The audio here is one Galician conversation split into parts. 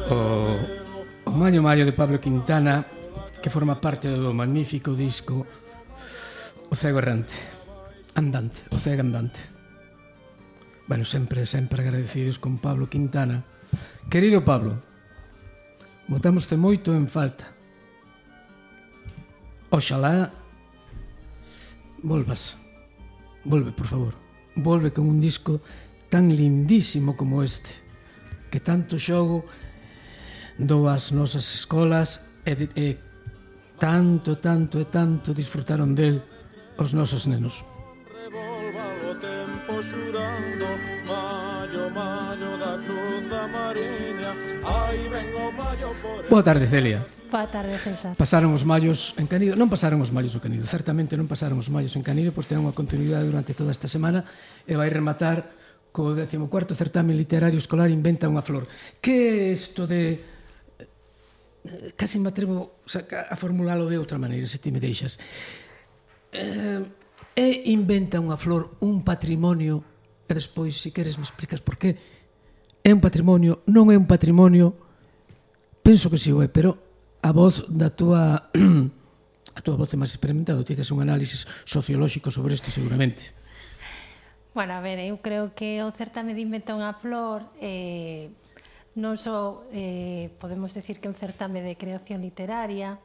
O Mayo Mayo de Pablo Quintana, que forma parte do magnífico disco O Cego Errante, Andante, O Cego Andante. Bueno, sempre agradecidos con Pablo Quintana. Querido Pablo, botámoste moito en falta. Oxalá volve, por favor, volve con un disco tan lindísimo como este, que tanto xogo dou ás nosas escolas e tanto disfrutaron del os nosos nenos. Boa tarde, Celia. Boa tarde, César. Pasaron os mallos en Canido? Non pasaron os mallos o Canido, certamente non pasaron os mallos en Canido, pois ten unha continuidade durante toda esta semana e vai rematar co 14º certame literario escolar Inventa unha flor. Que é isto de... Casi me atrevo a formulalo de outra maneira, se ti me deixas. É Inventa unha flor un patrimonio, e despois, se queres, me explicas por qué. É un patrimonio, non é un patrimonio? Penso que si o é, pero a voz da túa voz é máis experimentada, ti tes un análisis sociolóxico sobre isto seguramente. Bueno, a ver, eu creo que o certame de Inventa unha flor non só podemos decir que é un certame de creación literaria,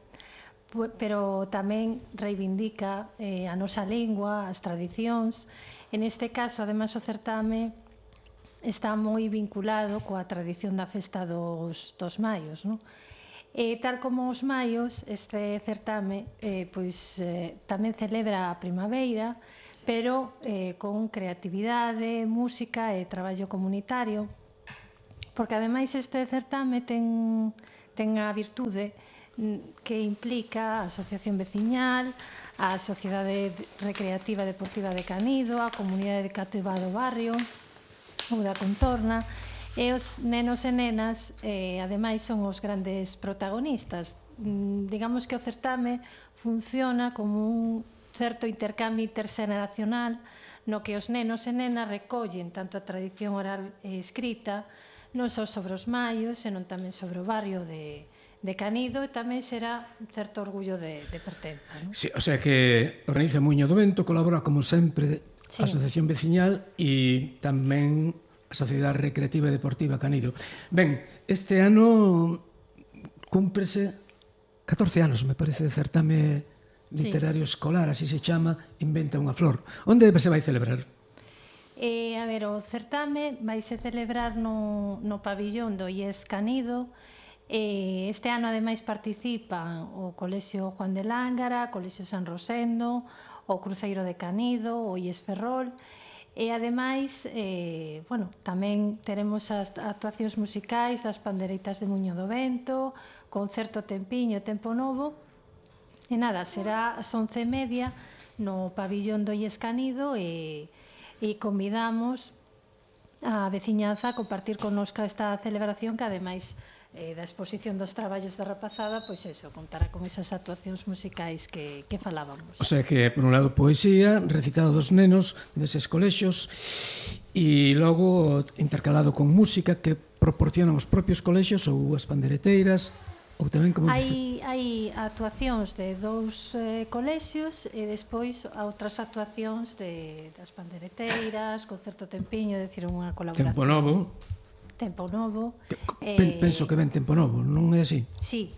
pero tamén reivindica a nosa lingua, as tradicións. En este caso, ademais, o certame está moi vinculado coa tradición da festa dos maios, non? E tal como os maios, este certame tamén celebra a primavera, pero con creatividade, música e traballo comunitario, porque ademais este certame ten a virtude que implica a asociación veciñal, a Sociedade Recreativa Deportiva de Canido, a comunidade educativa do barrio ou da contorna, e os nenos e nenas ademais son os grandes protagonistas. Digamos que o certame funciona como un certo intercambio interxeneracional no que os nenos e nenas recollen tanto a tradición oral e escrita non só sobre os maios, senón tamén sobre o barrio de Canido, e tamén será un certo orgullo de pertenza, non? Sí, o sea que organiza Muiño do Vento, colabora como sempre a Asociación Veciñal e tamén a Sociedade Recreativa e Deportiva Canido. Ben, este ano cúmprese 14 anos, me parece, de certame literario escolar, así se chama, Inventa unha flor. Onde se vai celebrar? A ver, o certame vaise celebrar no pabillón do IES Canido. Este ano, ademais, participan o Colexio Juan de Lángara, o Colexio San Rosendo, o Cruceiro de Canido, o IES Ferrol, e ademais, tamén teremos as actuacións musicais das Pandereitas de Muiño do Vento, Concerto Tempiño e Tempo Novo, e nada, será ás 11:30 no pabillón do IES Canido, e convidamos a veciñanza a compartir connosca esta celebración que, ademais da exposición dos traballos da rapazada, pois eso, contará con esas actuacións musicais que falábamos. O sea que, por un lado, poesía, recitado dos nenos deses colexios, e logo intercalado con música que proporcionan os propios colexios ou as pandereteiras, ou tamén, como dice... Hai actuacións de dous colexios e despois outras actuacións das pandereteiras, Concerto Tempiño, é dicir, unha colaboración. Tempo Novo. Penso que ven Tempo Novo, non é así? Sí.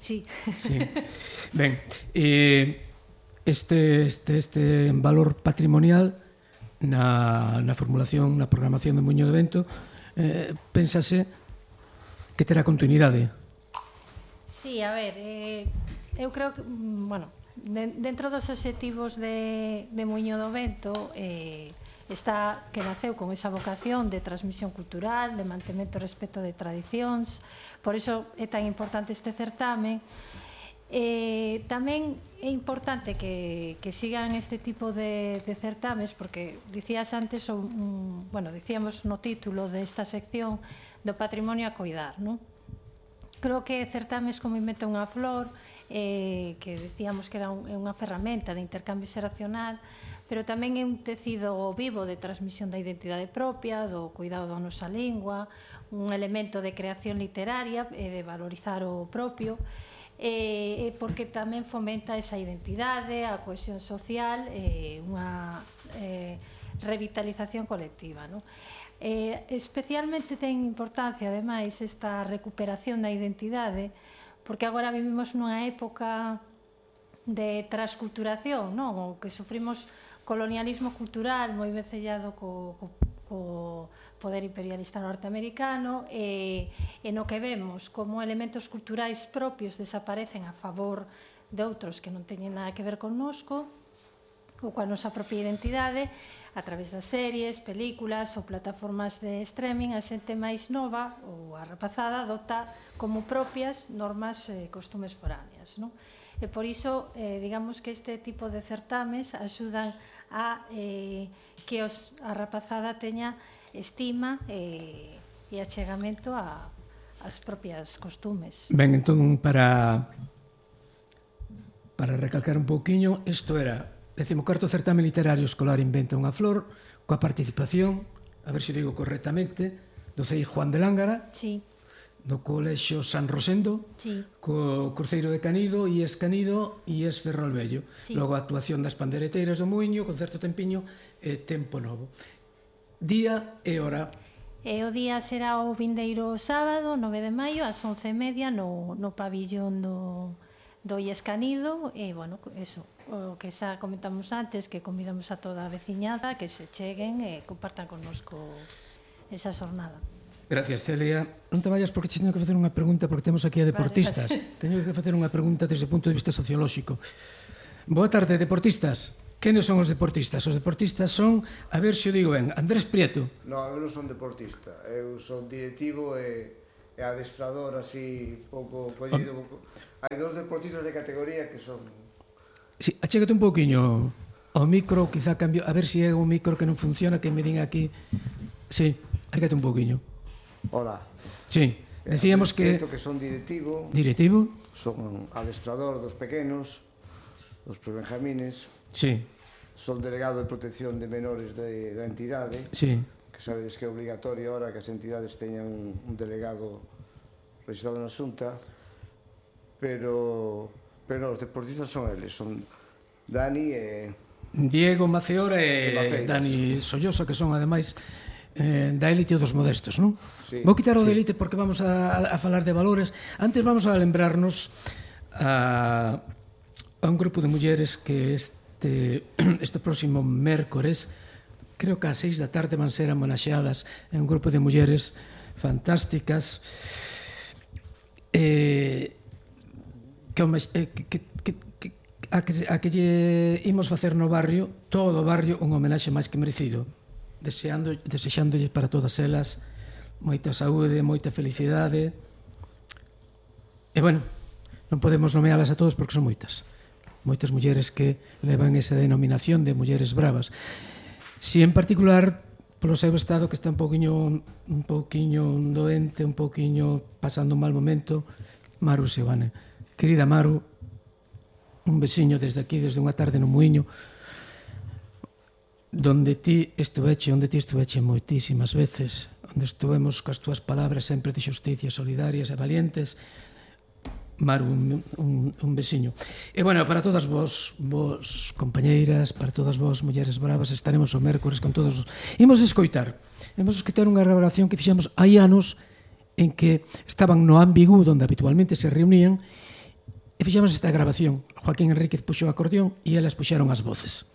Ben, este valor patrimonial na formulación, na programación do Muiño do Vento, pénsase que terá continuidade. Sí, a ver, eu creo que, dentro dos obxectivos de Muiño do Vento, está que naceu con esa vocación de transmisión cultural, de mantemento e respeto de tradicións, por iso é tan importante este certame. Tamén é importante que sigan este tipo de certames, porque dicías antes, dicíamos no título desta sección do patrimonio a coidar, non? Creo que certames como Inventa unha flor, que decíamos que era unha ferramenta de intercambio xeracional, pero tamén é un tecido vivo de transmisión da identidade propia, do cuidado da nosa lingua, un elemento de creación literaria e de valorizar o propio, porque tamén fomenta esa identidade, a cohesión social e unha revitalización colectiva, non? Especialmente ten importancia, ademais, esta recuperación da identidade, porque agora vivimos nunha época de transculturación, non? O que sufrimos colonialismo cultural moi vencellado co poder imperialista norteamericano e no que vemos como elementos culturais propios desaparecen a favor de outros que non teñen nada que ver connosco ou coa nosa propia identidade. A través das series, películas ou plataformas de streaming, a xente máis nova ou a rapazada adopta como propias normas e costumes foráneas, non? E por iso, digamos que este tipo de certames axudan a que a rapazada teña estima e achegamento ás propias costumes. Ben, entón, para recalcar un pouquiño, isto era 14º certame literario escolar Inventa unha flor, coa participación, a ver se digo correctamente, do CEI Juan de Lángara, sí, do Colexio San Rosendo, sí, co Cruceiro de Canido, IES Canido e IES Ferrolvello. Sí. Logo a actuación das pandereteiras do Muiño, Concerto Tempiño e Tempo Novo. Día e hora. E o día será o vindeiro sábado, 9 de maio, ás 11:30 no pabillón do IES Canido. E, bueno, eso, o que xa comentamos antes, que convidamos a toda a veciñada que se cheguen e compartan connosco esa xornada. Gracias, Celia. Non te vayas porque teño que facer unha pregunta, porque temos aquí a deportistas. Vale. Teño que facer unha pregunta desde o punto de vista sociolóxico. Boa tarde, deportistas. Quenes son os deportistas? Os deportistas son, a ver se o digo ben, Andrés Prieto. Non, eu non son deportista. Eu son directivo e adestrador, así, pouco collido. Hai dous deportistas de categoría que son... Sí, achégate un pouquiño ao micro, quizá cambio, a ver se é un micro que non funciona, que me din aquí. Sí, achégate un pouquiño. Hola. Sí, decíamos que... que son directivo. Directivo. Son adestrador dos pequenos, dos prebenjamines. Sí. Son delegado de protección de menores da entidade. Sí. Que sabedes que é obligatorio ahora que as entidades teñan un delegado registrado na Xunta. Pero os deportistas son eles, son Dani e... Diego Maceora e Dani Sollosa, que son ademais da élite dos modestos, non? Sí, vou quitar o de élite porque vamos a falar de valores. Antes vamos a lembrarnos a un grupo de mulleres que este próximo mércores, creo que ás 6 da tarde van ser homenaxeadas en un grupo de mulleres fantásticas a que lle imos facer no barrio, todo o barrio, un homenaxe máis que merecido, desexándolle para todas elas moita saúde, moita felicidade. E, bueno, non podemos nomealas a todos porque son moitas mulleres que levan esa denominación de mulleres bravas. Si en particular, polo seu estado, que está un poquinho doente, un poquinho pasando un mal momento, Maru Seoane. Querida Maru, un besiño desde aquí, desde unha tarde no Muiño, onde ti estuveche moitísimas veces, onde estuvemos coas túas palabras sempre de xusticia, solidarias e valientes. Maru, un besiño. E, bueno, para todas vos compañeiras, para todas vos mulleres bravas, estaremos o mércores con todos. Imos escoitar unha grabación que fixemos hai anos en que estaban no Ambigu, onde habitualmente se reunían, e fixemos esta grabación. Joaquín Enríquez puxo o acordeón e elas puxeron as voces.